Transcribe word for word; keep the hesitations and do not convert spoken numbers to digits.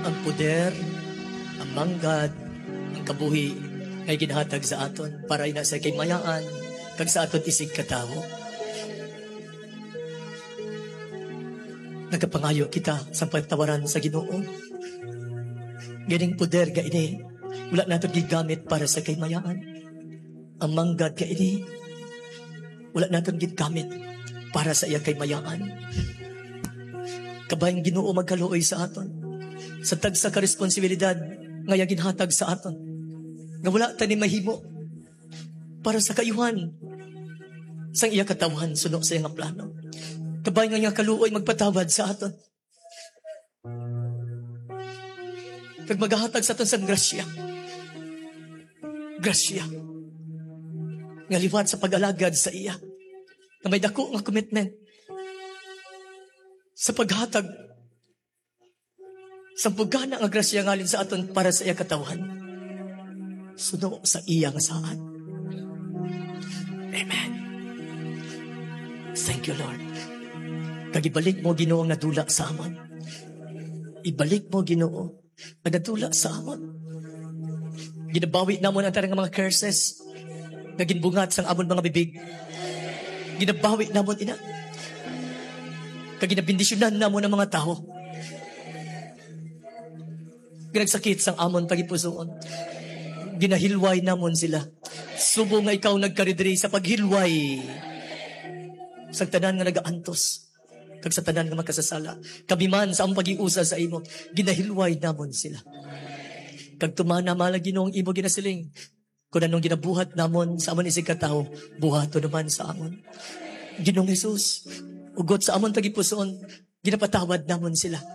Ang poder, ang manggad, ang kabuhi nga ginhatag sa aton para ina sa kaymayaan kag sa aton isig katawo. Nagapangayo kita sa pagtawaran sa Ginoo. Ganing poder nga ini, wala naton gigamit para sa kaymayaan. Ang manggad nga ini, wala naton gigamit para sa iya kaymayaan. Kabay ang Ginoo magkaluoy sa aton sa tagsa ka responsibilidad nga iya ginhatag sa aton, nga wala ta ni mahimo para sa kaayuhan sang iya katawhan suno sa iya nga plano. Kabay nga iya kaluoy magpatawad sa aton kag magahatag sa aton sang grasya. Grasya nga liwat sa pag-alagad sa iya, nga may dako nga commitment sa paghatag sa bugana nga grasya ngalin sa aton para sa iya katawhan, suno sa iya nga saad. Amen. Thank you, Lord. Kag ibalik mo, Ginoo, ang nadula sa amon. Ibalik mo, Ginoo, ang nadula sa amon. Ginabawi namon ang tanan nga mga curses nga ginbungat sang amon mga bibig. Ginabawi namon ina. Kag ginabendisyonan namon ang mga tawo nga nagsakit sang amon tagipusoon. Ginahilway namon sila, subong nga ikaw nagkari diri sa paghilway sa tanan nga nagaantos kag sa tanan nga makasasala. Kami man, sa among paghiusa sa imo, ginahilway namon sila. Kag tumana, mahal nga Ginoo, ang imo ginasiling, "Kon anong ginabuhat namon sa amon isig katawo, buhaton naman sa amon." Ginoong Jesus, hugot sa amon tagipusoon, ginapatawad namon sila.